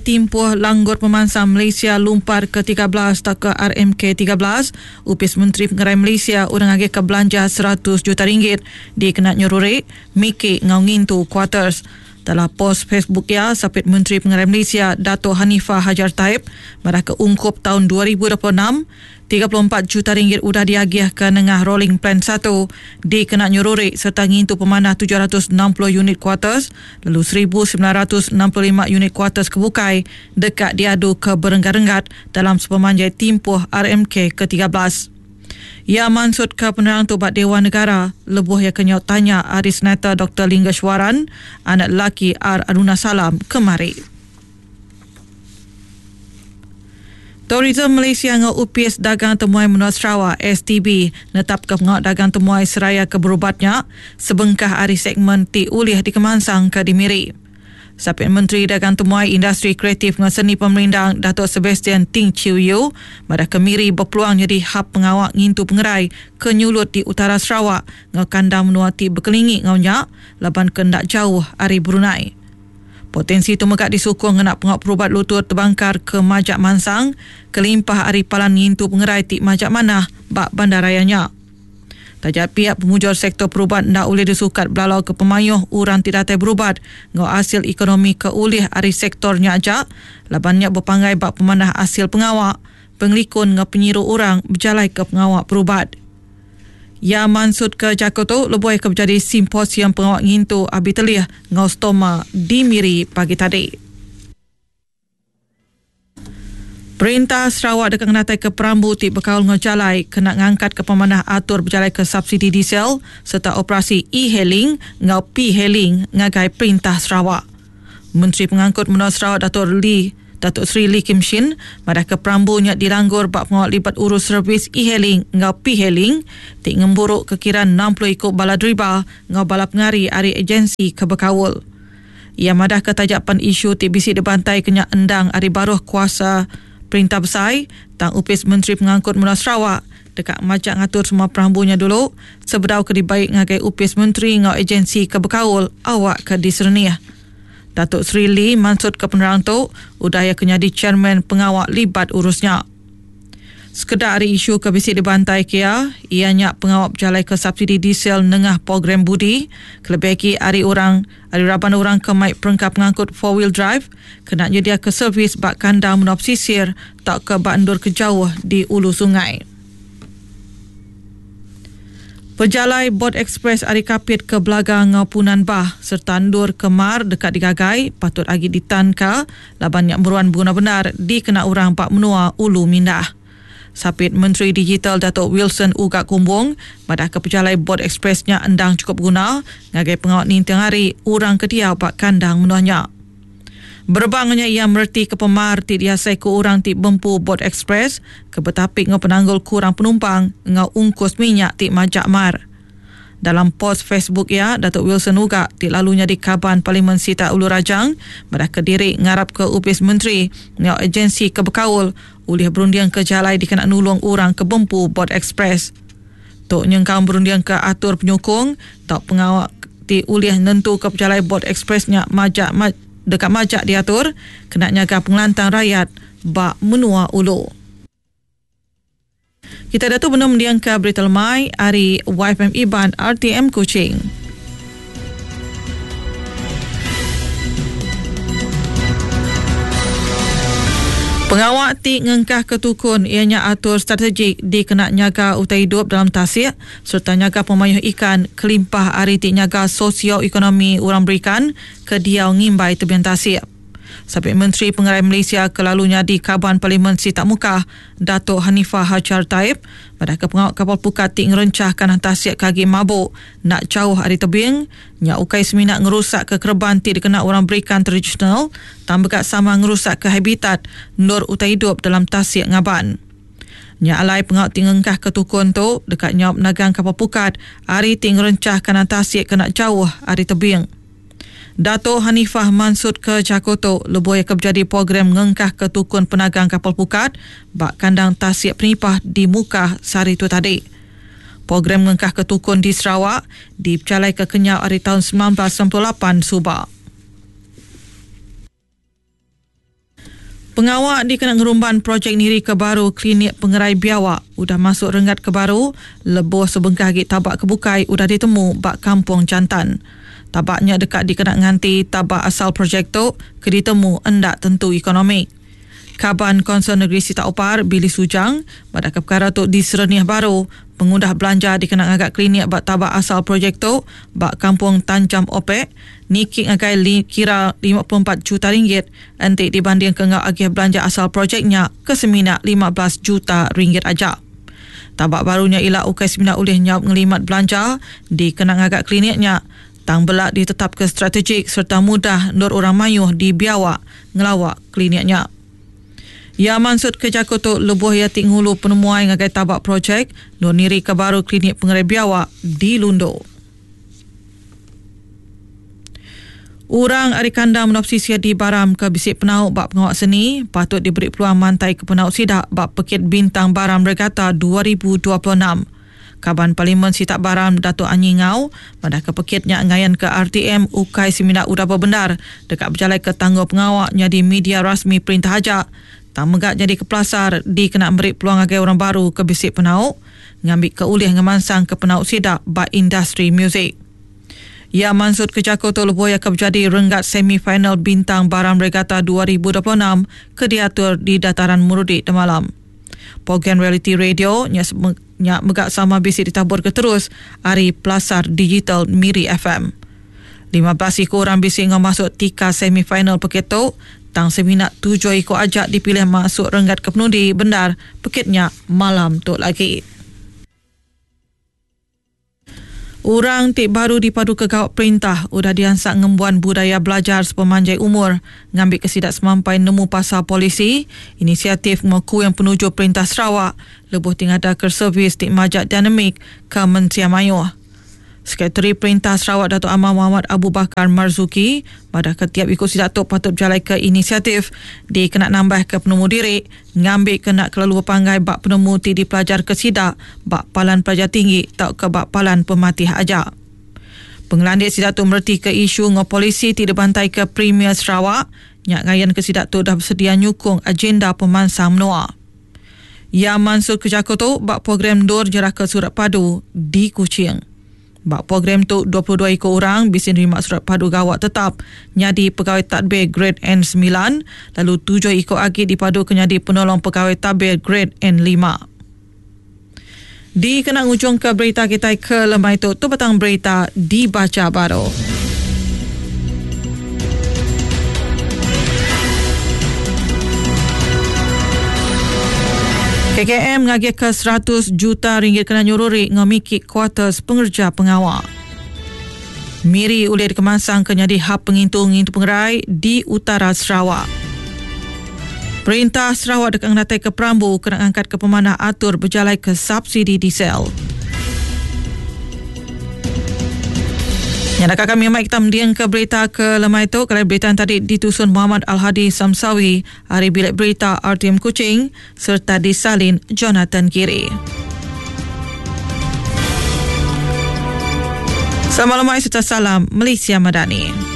Timpuh Langgur Pemansang Malaysia Lumpar ke 13 tauka RMK 13, Opis Menteri Pengerai Malaysia udah ngagihka belanja 100 juta ringgit dikena nyeruri, miki enggau ngintu kuarters. Dalam pos Facebook iya, Sapit Menteri Pengerai Malaysia Dato Hanifah Hajar Taib madahka ungkup taun 2026, 34 juta ringgit udah diagihka nengah Rolling Plan satu dikena nyeruri sereta ngintu pemanah 760 unit kuarters lalu 1965 unit kuarters ke bukai deka diadu ke berenggat-renggat dalam sepemanjai timpuh RMK ke 13. Iya mansutka penerang tu ba Dewan Negara lebuh iya ke nyaut tanya ari Senator Doktor Linggeswaran, anak lelaki R Arunasalam kemari. Tourism Malaysia enggau Opis Dagang Temuai Menua Sarawak, STB, netapka pengawa dagang temuai seraya ke berubat nya sebengkah ari segmen ti ulih dikemansangka di Miri. Sapit Menteri Dagang Temuai, Industri Kreatif enggau Seni Pemerindang Datuk Sebastian Ting Chiew Yew madahka Miri bepeluang nyadi hab pengawa ngintu pengerai ke nyulut di utara Sarawak enggau kandang menua ti bekelingi enggau nya laban ke enda jauh ari Brunei. Potensi tu mega disukung ngena pengawa perubat lutur tebangkar ke majak mansang kelimpah ari palan ngintu pengerai ti majak manah ba bandaraya nya. Taja pia pemujur sektor perubat enda ulih disukat belalauka pemayuh orang ti datai berubat enggau asil ekonomi ke ulih ari sektor nya aja laban nya bepanggai ba pemanah asil pengawa, pengelikun enggau penyiru orang bejalaika pengawa perubat. Iya mansutka jaku tu lebuh iya ke bejadi Simposium Pengawa Ngintu Abi Telih enggau Stoma di Miri pagi tadi. Perintah Sarawak deka ngenataika perambu ti bekaul enggau jalai kena ngangkatka pemanah atur bejalaika subsidi diesel sereta operasi e-hailing enggau p-hailing ngagai Perintah Sarawak. Menteri Pengangkut Menua Sarawak Datuk Lee Datuk Seri Lee Kim Shin madahka perambu nya dilanggur ba pengawa libat urus servis e-hailing enggau p-hailing ti ngemburuka kira 60 iku bala deriba enggau bala pengari ari agensi ke bekaul. Iya madahka taja pan isu ti bisi dibantaika nya endang ari baruh kuasa Perintah Besai tang Opis Menteri Pengangkut Menua Sarawak deka majak ngatur semua perambu nya dulu sebedau ke dibai ngagai opis menteri enggau agensi ke bekaul awakka diserenih. Datuk Seri Lee mansutka penerang tu udah iya ke nyadi chairman pengawa libat urus nya. Sekeda ari isu ke bisi dibantaika iya, iya nya pengawa bejalaika subsidi diesel nengah program Budi kelebih agi ari orang ari raban orang ke mai perengka pengangkut four wheel drive kena nyediaka servis ba kandang menua pesisir tauka ba endur ke jauh di ulu sungai. Pejalai bot ekspres ari Kapit ke Belaga enggau Punan Bah sereta endur ke mar deka digagai patut agi ditanka laban nya meruan beguna bendar dikena orang ba menua Ulu Mindah. Sapit Menteri Digital Datuk Wilson Ugak Kumbong madahka pejalai bot ekspres nya endang chukup beguna ngagai pengawa ninting hari orang ke diau ba kandang menua nya. Berebak enggau nya iya meretika pemar ti diasaika orang ti bempu bot ekspres ke betapi enggau penanggul kurang penumpang enggau ungkus minyak ti majak mar. Dalam pos Facebook iya, Datuk Wilson Ugak ti lalu nyadi Kaban Parlimen Sitak Ulu Rajang madahka diri ngarapka opis menteri enggau agensi ke bekaul ulih berundingka jalai dikena nulung orang ke bempu bot ekspres. Tu nyengkaum berundingka atur penyukung tau pengawa ti ulih nentuka pejalai bot ekspres nya majak deka majak diatur kena nyaga pengelantang rayat ba menua ulu. Kita diatu benung mendingka berita lemai ari YFM Iban RTM Kuching. Pengawa ti ngengkahka tukun iya nya atur strategik dikena nyaga utai idup dalam tasik sereta nyaga pemayuh ikan kelimpah ari ti nyaga sosio-ekonomi orang berikan ke diau ngimbai tebing tasik. Sapit Menteri Pengerai Malaysia ke lalu nyadi Kaban Parlimen Sitak Mukah, Datuk Hanifah Hajar Taib madahka pengawa kapal pukat ti ngerenchah kanah tasik ke agi mabuk enda jauh ari tebing nya ukai semina ngerusakka kereban ti dikena orang berikan tradisional tang mega sama ngerusakka habitat endur utai idup dalam tasik ngaban. Nya alai pengawa ti ngengkahka tukun tu deka nyaup nagang kapal pukat ari ti ngerenchah kanan tasik kena jauh ari tebing. Dato Hanifah mansutka jaku tu lebuh iya ke bejadi program ngengkahka tukun penagang kapal pukat ba kandang tasik Penipah di Mukah sehari tu tadi. Program ngengkahka tukun di Sarawak dipejalaika kenyau ari taun 1998 suba. Pengawa dikena ngerumban projek nirika baru Klinik Pengerai Biawak udah masuk renggat ke baru lebuh sebengkah agi tabak ke bukai udah ditemu ba Kampung Jantan. Tabak nya deka dikena nganti tabak asal projek tu ke ditemu enda tentu ekonomik. Kaban Kaunsil Negeri Sitak Opar, Billy Sujang, madahka pekara tu diserenih baru pengudah belanja dikena ngaga klinik ba tabak asal projek tu ba Kampung Tanjam Opek niki ngagai kira 54 juta ringgit enti dibandingka enggau agih belanja asal projek nya ke semina 15 juta ringgit aja. Tabak baru nya ila ukai semina ulih nyaup ngelimat belanja dikena ngaga klinik nya tang bela ditetapka strategik sereta mudah endur orang mayuh di Biawak ngelawa klinik nya. Iya mansutka jaku tu lebuh iya ti ngulu penemuai ngagai taba projek endur nirika baru Klinik Pengerai Biawak di Lundu. Orang ari kandang menua pesisir di Baram ke bisi penau ba pengawa seni patut diberi peluang mantaika penau sida ba Pekit Bintang Baram Regatta 2026. Kaban Parlimen Sitak Baram Datuk Anyi Ngau madahka pekit nya ngayanka RTM ukai semina udah bebendar deka bejalaika tanggungpengawa nyadi media rasmi perintah aja tang mega nyadika pelasar dikena meri peluang ngagai orang baru ke bisi penau ngambika ulih ngemansangka penau sida ba industri muzik. Iya mansutka jaku tu lebuh iya ke bejadi renggat semi final Bintang Baram Regatta 2026 ke diatur di Dataran Murudi demalam. Program realiti radio nya nya mega sama bisi ditaburka terus ari pelasar digital Miri FM. 15 iku orang bisi enggau masuk tikas semi final pekit tu tang semina tujuh iku aja dipilih masuk renggat kepenudi bendar pekit nya malam tu lagi. Orang ti baru dipaduka gawa perintah udah diansak ngembuan budaya belajar sepemanjai umur ngambika sida semampai nemu pasal polisi, inisiatif enggau kuing penuju Perintah Sarawak lebuh ti ngadaka servis ti majak dinamik ke mensia mayuh. Sekretari Perintah Sarawak Datuk Amar Mohamad Abu Bakar Marzuki madahka tiap iku sida tu patut bejalaika inisiatif dikena nambahka penemu diri ngambika enda kelalu bepanggai ba penemu ti dipelajarka sida ba palan pelajar tinggi tauka ba palan pematih aja. Pengelandik sida tu meretika isu enggau polisi ti dibantaika Premier Sarawak nya ngayanka sida tu udah besedia nyukung agenda pemansang menua. Iya mansutka jaku tu ba program endur nyerahka surat padu di Kuching. Ba program tu, 22 iku orang bisi nerima surat padu gawa tetap nyadi pegawai tadbir Gred N semilan lalu tujuh iku agi dipaduka nyadi penolong pegawai tadbir Gred N lima. Dikena ngujungka berita kitai ke lemai tu, tu batang berita dibacha baru. KKM ngagihka 100 juta ringgit kena nyururi enggau miki kuarters pengereja pengawa. Miri ulih dikemansangka nyadi hub pengintu ngintu pengerai di utara Sarawak. Perintah Sarawak deka ngenataika perambu kena ngangkatka pemanah atur bejalaika subsidi diesel. Nya deka kami mai kita mendingka berita ke lemai tu. Kelai berita yang tadi ditusun Muhammad Al-Hadi Samsawi ari Bilik Berita RTM Kuching sereta disalin Jonathan Giri. Selamat lemai serta salam Malaysia Madani.